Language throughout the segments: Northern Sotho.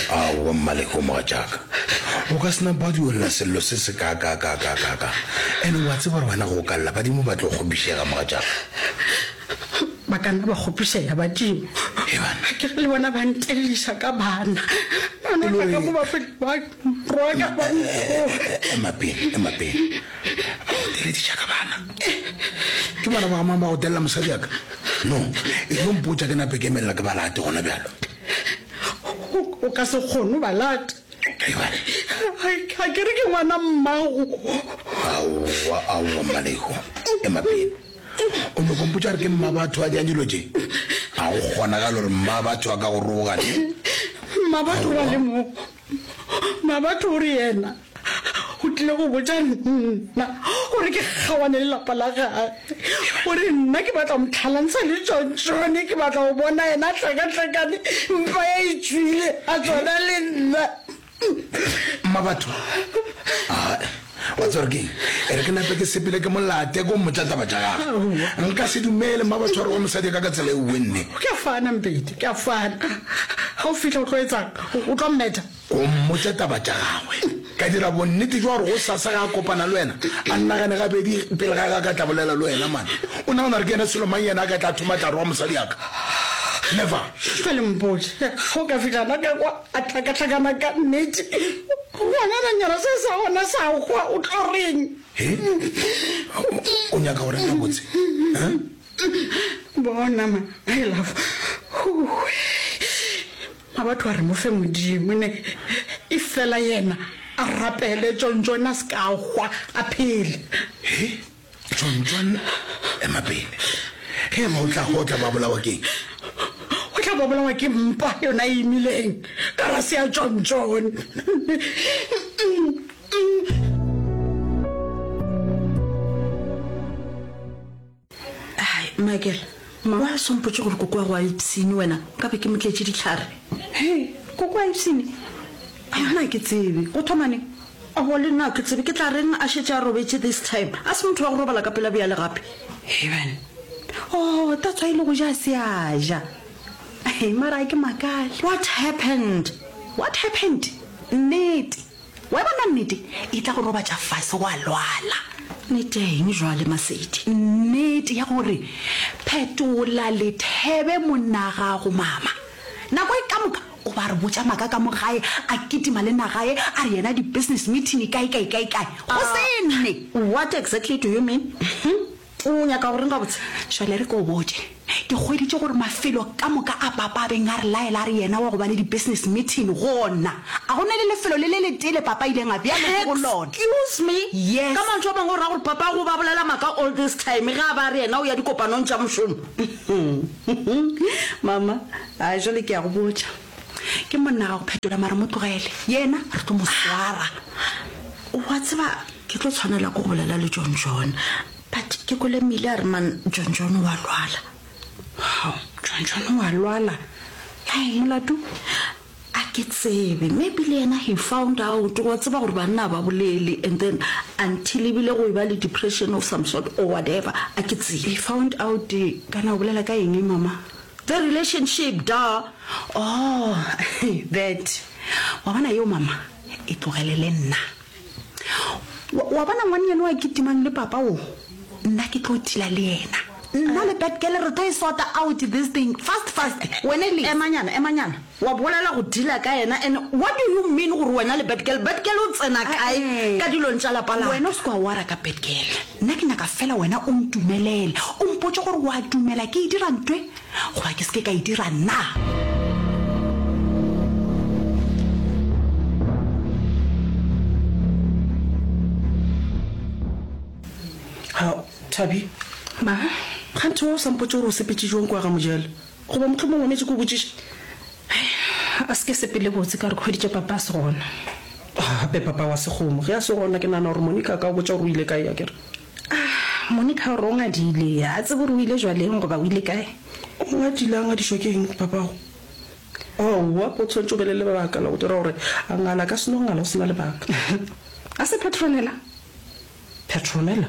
Aowa Mmaleko mogatšaka, o ka se napa wa duelela sello se se kaakaakaakaaka. Ene wa tseba gore wena go o ka lla badimo ba tlo kgopišega mogatšaka. Ba ka nna ba kgopišega badimo. He banna. Ke re le bona ba ntelliša ka bana. Ba no tla ka mo ba fele ba nroga ba nthoga. Ema pele, ema pele. Ba go telediša ka bana? Ke bana ba ga mang ba go telela mosadi wa ka? No, e tlo mpotša ke nape ke emelela ke ba late gona bjalo. O ka se kgone o ba late. Ga ke re ke ngwana mmago. Aowa, aowa, Mmaleko. Ema pele. O nyoko mpotša gore ke mmabatho a diang dilo tše? Ga go kgonagale gore mmabatho a ka go roga ne. Mmabatho o le mo. Mmabatho o re yena o tlile go botša nna gore ke kgaoane le lapa la gage. O re nna ke batla go mo tlhalantsha le Tšontšone, ke batla go bona yena a hlakahlakane mpa ya e tšwile a tswana le nna. Mmabatho, Aa, wa tseba gore keng? E re ke nape ke sepele ke mo late ko mmotša taba tša gagwe. Nka se dumele mmabatho a roga mosadi ka ka tsela e wenne. Ke a fana Mpedi, ke a fana. Ga o fihla o tlo etsang? O tlo mmetha? Ko mmotša taba tša gagwe. Ka dira bonnete jwa gore gosasa ge a kopana le wena, a nagane gabedi pele ga ge a ka tla bolela le wena. Man, o nagana gore ke yena selo mang yena a ka tla thoma tla roga mosadi ya ka? Never! Bjale mpotše, ge o ka fihla gona ka kwa a hlakahlakana ka nnete, ngwanananyana se sa gona sa hwa, o tlo reng? He? O nyaka go reng gabotse? Huh? Bona, ma, my love. Huwe. Mabatho a re mo fe Modimo ne e fela yena a rapele Tšontšone a se ka hwa a phele. He, Tšontšone ema pele. Ge eba o tla hwa o tla ba bolawa ke eng? O tla ba bolawa ke mpa yona e imileng ka rase ya Tšontšone. Ai, Michael, wa se mpotše gore koko wa go a ipshine wena, nka be ke mo tletše dihlare. Hei, koko a ipshine? Ai, nna ke tsebe. Go thoma neng? Aowa, le nna ke tsebe. Ke tla reng a šetše a robetše this time? A se motho wa go robala ka pela bjale gape. Hei, bana. Oh, that's why le go ja a se a ja. Hei, mara a ke makale. What happened? What happened? Nnete. Wa e bona nnete e tla go robatša fase wa lwala. Nnete ya eng jwale Masedi? Nnete ya gore Phetola lethebe monnagago mama. Nako e ka moka o ba re botša maka ka mo gae a kitima le nagae a re yena di business meeting kae kae kae kae go se nne. What exactly do you mean? O nyaka go reng gabotse? Jwale re ko botše. Ke hweditše gore mafelo ka moka a papa a beng a re laela a re yena wa go ba le di-business meeting gona, a go na le lefelo le le letee le papa a ileng a bea leoto go lona. Excuse me? Yes. Ka mantšu a mangwe o ra gore papa go ba bolela maaka all this time ge a ba a re yena o ya dikopanong tša mošomo? Mama, a jwale ke a go botša. Ke monna ga go phetola mara mo tlogele. Yena re tlo mo swara. Wa tseba ke tlo tshwanela ke go bolela le John John. But ke kwele Mile a re man John John wa lwala. Hao, John John wa lwala? Hai, molato? A ke tsebe, maybe le yena he found out, wa tseba gore banna a ba bolele and then until ebile go eba le depression of some sort or whatever, a ke tsebe. He found out, kana o bolela ka eng mama? The relationship, duh. Oh, that. Wa bona yeo mama, e tlogelele nna. Wa, wa bona ngwannyane wa kitimang le papa wo? Nna ke tlo tila le yena. Nna le bad girl re tlo e sorta out this thing fast fast. Wena le. Emanyana, emanyana. Wa bolela go dealer ka yena and what do you mean gore wena le bad girl? Bad girl o tsena kae ka dilong tša lapa la ka? Wena o se ke wa wara ka bad girl. Nna ke nyaka fela wena o ntumelele. O mpotše gore wa dumela ke e dira ntwe goba ke se ke ka e dira na. Ha, Thabi. Ma? Kganthe wa o sa mpotše gore o sepetše jwang kua ga Mojela? Goba mohlomong wa metše ke o botšiše? A se ke sepele botse ka gore ke hweditše papa a se gona. Gape papa wa sekgomo ge a se gona ke nagana gore Monica a ka o botša gore o ile kae akere? Ah, Monica o re o ngadile, ga a tsebe gore o ile jwaleng goba o ile kae. O ngadile a ngadišwa ke eng papago? Aowa, o tshwanetše o be le lebaka la go dira gore a ngala, a ka se no ngala go se na lebaka. A se Petronella? Petronella?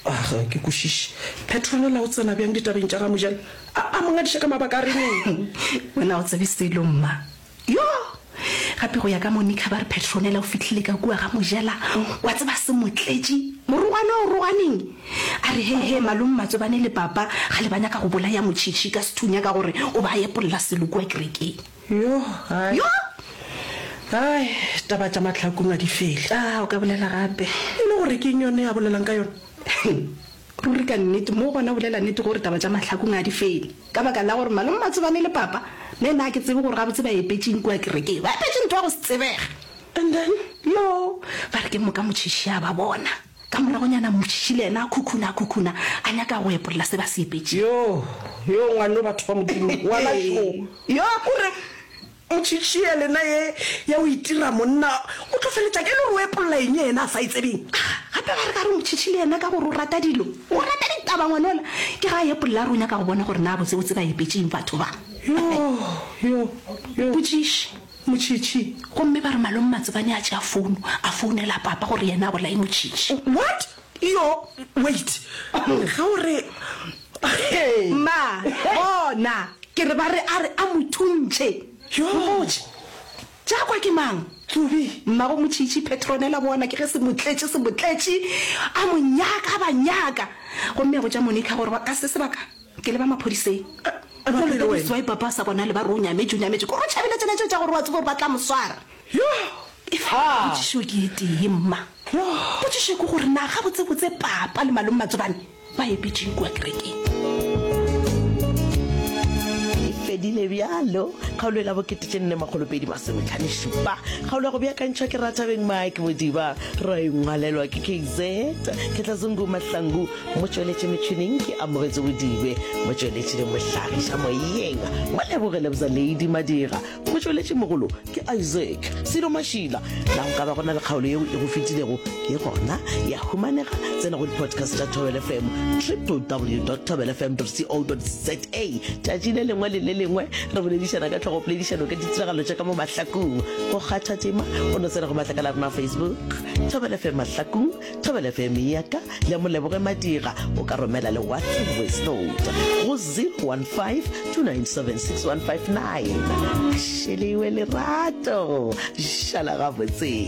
A ga ke kwešiše. Petronella o tsena bjang ditabeng tša ga Mojela? A, a mo ngadiša ka mabaka a reng? Wena ga o tsebe selo, mma. Yo! Gape go ya ka Monica ba re Petronella o fihlile ka kua ga Mojela, wa tseba se mo tletše morogwane o roganeng. A re, He, he, malome Matsobane le papa ga le ba nyaka go bolaya Motšhitšhi ka sethunya ka gore o ba a epolla selo kua kerekeng. Yo, hai. Yo! Hai, taba tša mahlakong a di fele. A, o ka bolela gape. E le gore ke eng yone a bolelang ka yona? Ruri ka nnete, mo gona o bolela nnete gore taba tša mahlakong a di fele. Ka baka la gore malome Matsobane le papa, le nna ga ke tsebe gore gabotse ba epetšeng kua kerekeng. Ba epetše ntho ya go se tsebege. And then? Yo! Ba re ke moka Motšhitšhi a ba bona. Ka moragonyana Motšhitšhi le yena a khukhuna, a khukhuna, a nyaka go epolla se ba se epetšeng. Yo! Yo, ngwano batho ba Modimo, ngwana šo. Yo! O re, Motšhitšhi ye lena ye ya go itira monna, o tlo feletša ke le gore o epolla eng yena a sa e tsebeng? Gape ba re ka re Motšhitšhi le yena ka gore o rata dilo, o rata ditaba ngwanola, ke ga a epolla a re o nyaka go bona gore na botsebotse ba epetše eng batho ba. Yo, yo, yo. Potšiše. Motšhitšhi. Gomme ba re Malome Matsobane a tšea founo, a founela papa gore yena a bolaye Motšhitšhi. What? Yo, wait. Ge o re, hey. Ma, bona, ke re ba re a re a mo thuntšhe. Yo. Mpotše, tša kwa ke mang? Tsubi. Mmago Motšhitšhi, Petronella, bona, ke ge se mo tletše, se mo tletše, a mo nyaka, a ba nyaka. Gomme a botša Monica gore ka se sebaka, ke leba maphodiseng. Ema pele wena. That's why papa a sa bonale, ba re o nyametše, o nyametše. Ke gore o tšhabile tsela tšeo tša gore wa tseba gore ba tla mo swara. Yo! Efela potšišo ke e tee, mma. Potšišo ke gore na gabotsebotse papa le malome Matsobane ba epetšeng kua kerekeng? E fedile bjalo kgaolo e la bokete tše nne makgolo pedi masometlhano šupa. Kgaolo ya go beakantšhwa ke Rathabeng Mike Modiba, ra e ngwalelwa ke KZ Ketlazungu Mahlangu, motšweletši metšhineng ke Amogetso Bodibe, motšweletši le mohlagiša moyeng Moleboge Lebza Lady Madira. Motšweletšimogolo ke Isaac Silo Mašila. Na go ka ba go na le kgaolo yeo e go fetilego? E gona, ya humanega. Tsena go di-podcast tša Thobela FM, www.thobelafm.co.za. Tšatši le lengwe le le lengwe re boledišana ka tlhogopoledišano ka ditiragalo tša ka mo mahlakong. Go kgatha tema, o no tsena go matlakala a rena a Facebook, Thobela FM Mahlakong, Thobela FM ya ka le Moleboge Madira. O ka romela le WhatsApp voice note go 015 297 6159. Šelewe lerato, šala gabotse.